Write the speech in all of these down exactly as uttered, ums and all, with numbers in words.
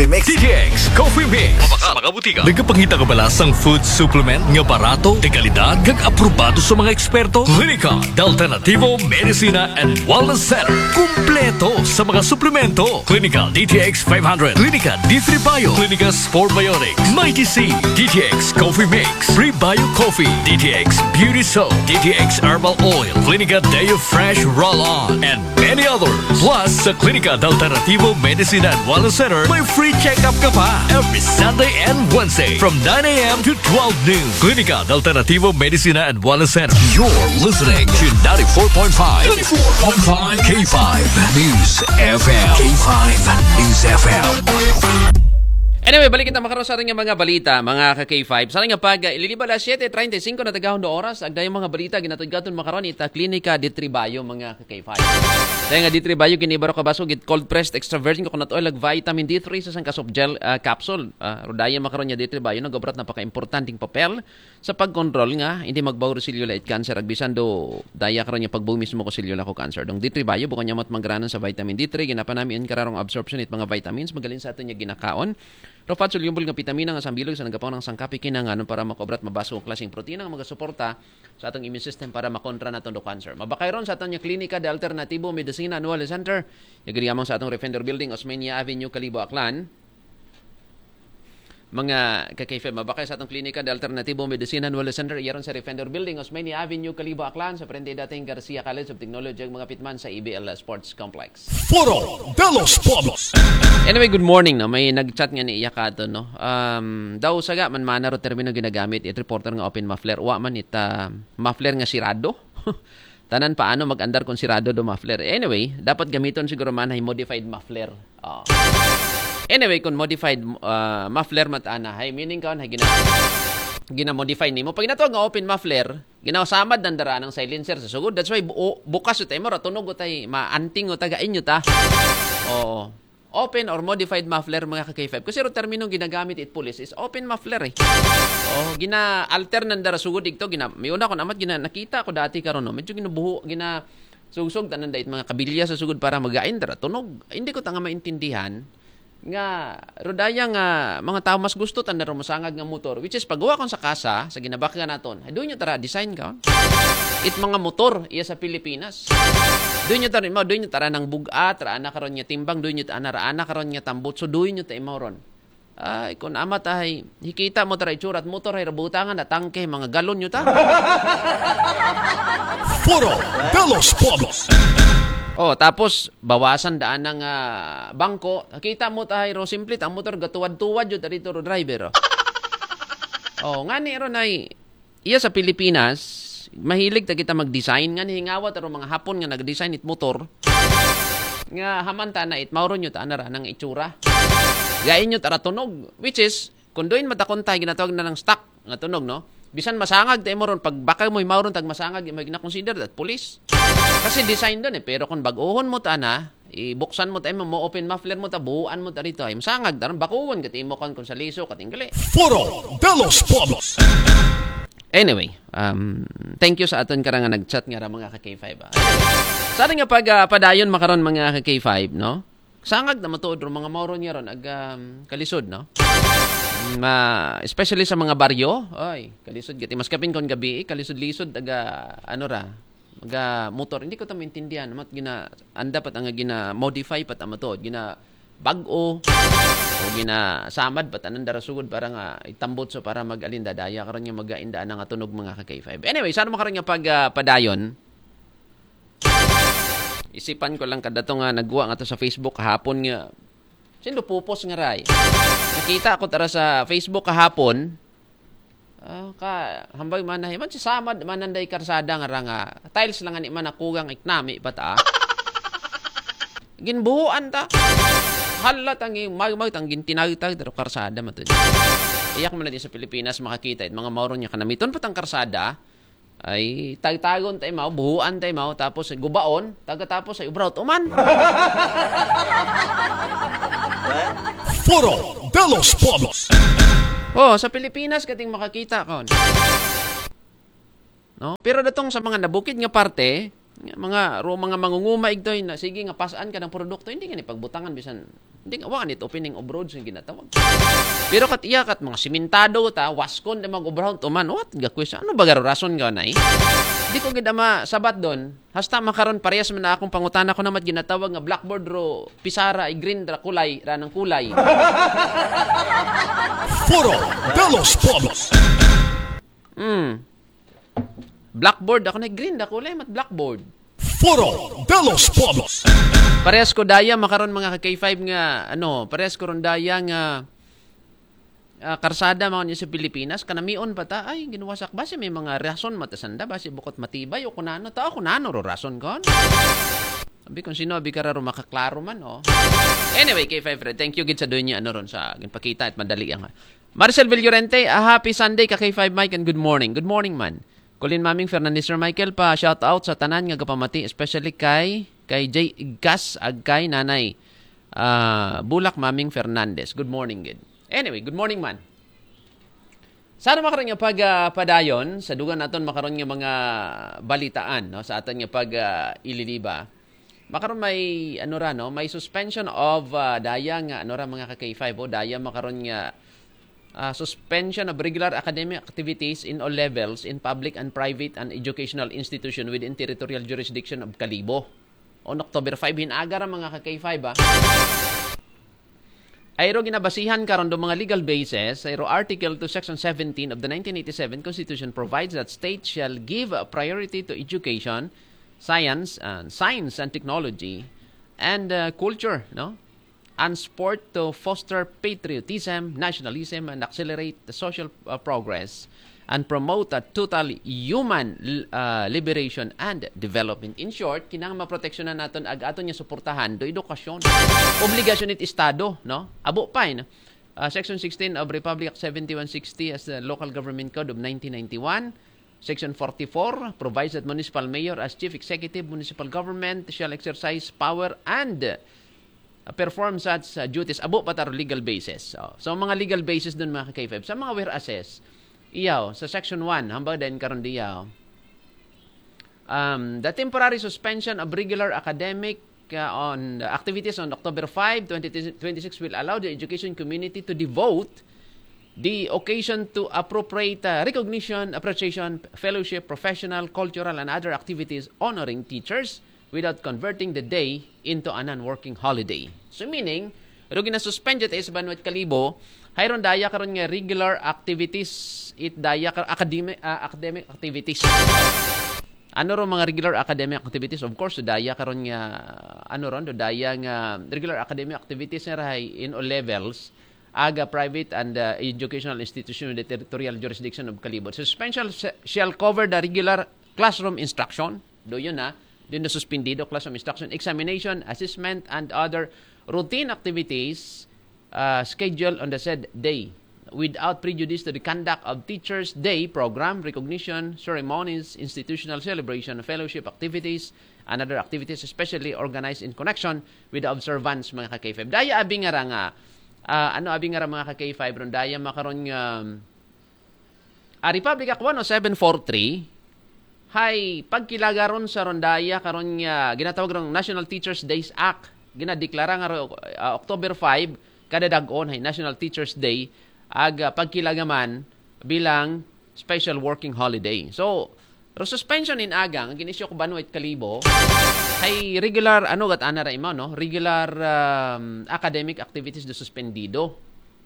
Mix. D T X Coffee Mix. Sa mga butika. Nagapangita ka ba sa food supplement nga barato, de kalidad, kag aprobado sa mga eksperto? Klinika de Alternativo Medicina and Wellness Center. Kumpleto sa mga suplemento. Klinika D T X five hundred, Klinika D three Bio, Klinika Sport Biotics, Mighty C, D T X Coffee Mix, Prebio Coffee, D T X Beauty Soap, D T X Herbal Oil, Klinika Deo Fresh Roll-On, and many others. Plus, sa Klinika de Alternativo Medicina and Wellness Center, may free check-up ka pa every Sunday and Wednesday from nine a.m. to twelve noon. Klinika de Alternativo Medicina and Wellness Center. You're listening to ninety-four point five, ninety-four point five K five News F M. K five News F M. Anyway, balik kita makaroon sa ating mga balita, mga ka-K five. Sa ating pag uh, ililiba alas siyete treinta y cinco na tagahon do oras, agda yung mga balita, ginatod-gaton makaroon ita Klinika D three Bio, mga ka-K five. Dahil nga D three Bio, giniba ro kabaso, git cold pressed extra virgin coconut oil, ag vitamin D three sa sangka soft gel uh, capsule. Uh, rodaya makaroon niya D three Bio, nagobrat napaka-importanting papel sa pagkontrol nga hindi magbaho ro selula it cancer, agbisan do daya karon nga pagbumis mo ko selula ko cancer. Dong D three Bio, bukon niya mat mangranan sa vitamin D three, ginapanamian kararong absorption it mga vitamins, magalin sa aton niya ginakaon. Ro fat soluble nga vitamina nga sambilog sa nagapaw ng sangkapi kinanganon para makobrat mabaso ang klaseng protina nga magasuporta sa atong immune system para makontra naton do cancer. Mabakay ron sa aton niya klinika de Alternativo Medicina Annual Center. Yagiriamang sa atong Refender Building, Osmeña Avenue, Kalibo, Aklan. Mga ka-K five, mabakay sa atong klinika de Alternativo Medicina Annual Center, iyaron sa Refender Building, Osmeña Avenue, Kalibo, Aklan, sa frente dating Garcia College of Technology, ang mga pitman sa E B L Sports Complex. Foro de los Pueblos. Anyway, good morning, no? May nag-chat nga ni Iyakato, no? Um, daw saga man mana ro termino ginagamit it reporter nga open muffler. Wa man it uh, muffler nga sirado. Tanan paano mag-andar kung sirado do muffler. Anyway, dapat gamiton siguro man ay modified muffler. Oh. Anyway, kung modified uh, muffler mat ana, hay meaning kaon hay gina gina-modify nimo. Pag natawag nga open muffler, ginasamad ang dara ng silencer sa sugod. That's why bu bukas ito mo ratunog utay maanting uta gain uta. Oo. Open or modified muffler, mga ka-K five. Kasi ro terminong ginagamit it police is open muffler eh. Oh, gina-alter nandara sugod igto, gina may una ko namat gina nakita ko dati karon no. Medyo ginabuho, gina sugsog tanan dait mga kabilya sa sugod para magain dara tunog. Hindi ko tanga maintindihan nga rodaya nga mga tao mas gusto tanda ro masangag nga motor, which is pagguwa kon sa kasa sa ginabakga naton. Ay doon nyo tara design ka. It mga motor iya sa Pilipinas. Doon nyo tara, doon nyo tara ng bugat, raana karon nga timbang, doon nyo tara, raana karon nga tambutso, doon nyo ta imaw ron. Ay, kun amat ahay, hikita mo tara itsura at motor ay rabutangan na tangke, mga galon nyo ta. Foro de los Pueblos. Oh, tapos bawasan daan ng ah, bangko. Kita mo tahay ro simple ang motor gatuwad-tuwad jud dito ro driver. Oh, oh ngani ron ay iya sa Pilipinas mahilig ta kita mag-design nga nihingawa ta ro mga Hapon nga nag-design it motor nga hamanta na it mauro nyo ta anara nang itsura. Gain nyo tara tunog, which is kung doon matakon tayo ginatawag na ng stock nga tunog, no? Bisan masangag tayo mo ron, pag baka mo'y mauron tag masangag, mo na-consider that police. Kasi design doon eh. Pero kung bag-ohon mo ta na, ibuksan mo tayo mo, open muffler mo ta, buuan mo ta rito. Ay, masangag, daron bakuwon, kati mo kan kung sa liso, katinggali. Foro de los Pueblos. Anyway, um, thank you sa aton karang nga nag-chat nga ra mga ka-K five. Ah. Sa ating nga pag, ah, padayon makaron mga ka-K five, no? Sangag na matuod ro mga mauron niya ron ag um, kalisod, no? Ma, especially sa mga baryo, ay, kalisod gati mas kapin kon gabi, eh, kalisod-lisod taga ano ra, mga motor. Hindi ko ta maintindihan mat gina anda pat ang gina modify pat ang matuod, gina bag-o o gina samad pat anang darasugod para nga itambot so para mag-alin dadaya karon nga magainda nga tunog mga ka-K five. Anyway, sa ano makaron nga pag ah, padayon? Isipan ko lang kadato nga nagwa nga to sa Facebook kahapon nga sindo pupos nga ray. Nakita ko tara sa Facebook kahapon. Ah, ka hambay man na man si samad man nanday karsada nga ra nga tiles lang ani man nakugang iknami bata. Ginbuhuan ta. Halat ang magmag tang gintinagtag daro karsada matud. Iyak man na din sa Pilipinas makakita it mga mauron nga kanamiton pa tang karsada. Ay tagtagon tayo mao, buhuan tayo mao, tapos gubaon, tagatapos ay ubraw tuman. Foro de los Pueblos. Oh, sa Pilipinas kating makakita kon. No? Pero datong sa mga nabukid nga parte, Mga ro mga mangunguma igtoy na sige nga pasaan ka ng produkto, hindi nga ni pagbutangan bisan hindi nga wa nit opening of roads nga ginatawag. Pero kat iya kat mga simentado ta, waskon de mag-obrahon tuman, what ga question? Ano ba garo rason ka na eh? Di ko gid ama sabat doon. Hasta makaron parehas man na akong pangutana ko namat ginatawag nga blackboard ro pisara i green ra kulay ra ng kulay. Foro de los Pueblos. Hmm. Blackboard ako na green da kulay mat blackboard. Foro de los Pueblos. Parehas ko daya makaron mga ka K five nga ano, parehas ko ron daya nga ah, karsada mga niya sa Pilipinas, kanamion pa ta, ay, ginuwasak, basi may mga rason matasanda, basi bukot matibay o kunano ta, o kunano ro rason kon. Sabi kung sino, abi kararo makaklaro man, oh. Anyway, K five Fred, thank you gid sa doon niya, ano ron sa ginpakita at madali ang Marcel Villorente, a happy Sunday ka K five Mike and good morning. Good morning man. Colin Maming Fernandez Sir Michael pa shout out sa tanan nga gapamati, especially kay kay Jay Igkas ag kay Nanay ah, Bulak Maming Fernandez. Good morning gid. Anyway, good morning man. Sana makaron nga pag ah, padayon sa dugan naton makaron nga mga balitaan no sa aton nga pag ah, ililiba. Makaron may ano ra no, may suspension of ah, daya nga ano ra mga ka K five o daya makaron nga ah, suspension of regular academic activities in all levels in public and private and educational institution within territorial jurisdiction of Kalibo. On October five, hinaga ra mga ka K five ah. Ayro ginabasihan karon do mga legal basis, ayro Article two, Section seventeen of the nineteen eighty-seven Constitution provides that states shall give priority to education, science, and science and technology, and uh, culture, no? And sport to foster patriotism, nationalism, and accelerate the social uh, progress and promote a total human uh, liberation and development. In short, kinahanglan maproteksyonan naton ag aton nga suportahan do edukasyon. Obligasyon it Estado, no? Abo pa, eh, no? Uh, Section sixteen of Republic Act seventy-one sixty as the Local Government Code of nineteen ninety-one. Section forty-four provides that municipal mayor as chief executive municipal government shall exercise power and uh, perform such uh, duties abo pa taro legal basis. Oh. So, mga legal basis dun mga ka-K five. Sa mga whereases, iyaw, sa section one, hambag din karon diyaw, um, the temporary suspension of regular academic uh, on activities on October five, twenty twenty-six will allow the education community to devote the occasion to appropriate uh, recognition, appreciation, fellowship, professional, cultural, and other activities honoring teachers without converting the day into a non-working holiday. So meaning, ro ginasuspend ta sa Banwat Kalibo, hayron daya karon nga regular activities, it daya kar academic uh, academic activities. Ano ro mga regular academic activities? Of course, daya karon nga ano ron, daya nga regular academic activities nga rahay in all levels aga private and uh, educational institution in the territorial jurisdiction of Kalibo. Suspension shall cover the regular classroom instruction. Do yun na. Din na suspendido classroom instruction, examination, assessment, and other routine activities uh, scheduled on the said day without prejudice to the conduct of Teachers' Day program, recognition, ceremonies, institutional celebration, fellowship activities, and other activities especially organized in connection with the observance mga ka-K five. Daya abi nga ra nga uh, ano abi nga ra mga ka-K five ron daya makaron nga um, a Republic Act one oh seven forty-three hay pagkilagaron sa rondaya karon nga ginatawag rong National Teachers Days Act ginadeklara nga uh, October five kada dag-on hay National Teachers Day ag uh, pagkilagaman bilang special working holiday. So, ro suspension in aga nga ginisyo ko Banwait Kalibo hay regular ano gat ana ra imaw no, regular um, academic activities do suspendido.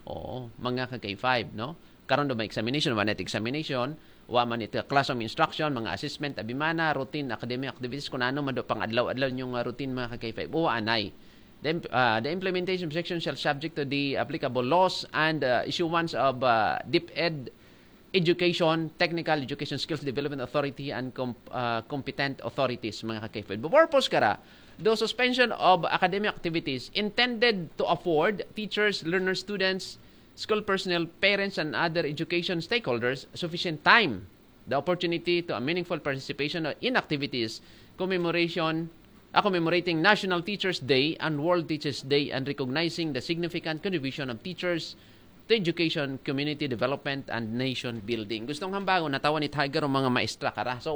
Oo, mga ka K five no. Karon do may examination, wa na examination, wa man ito classroom instruction, mga assessment, abimana, routine academic activities kun ano man do pang adlaw-adlaw yung uh, routine mga ka K five. Wa anay. The, uh, the implementation section shall subject to the applicable laws and uh, issuance of uh, DepEd education, technical education skills development authority and com- uh, competent authorities mga ka-K five. The purpose kara, the suspension of academic activities intended to afford teachers, learners, students, school personnel, parents and other education stakeholders sufficient time, the opportunity to a meaningful participation in activities commemoration uh, commemorating National Teachers Day and World Teachers Day and recognizing the significant contribution of teachers to education, community development, and nation building. Gustong hambagon, natawan ni Tiger ang mga maestra kara. So,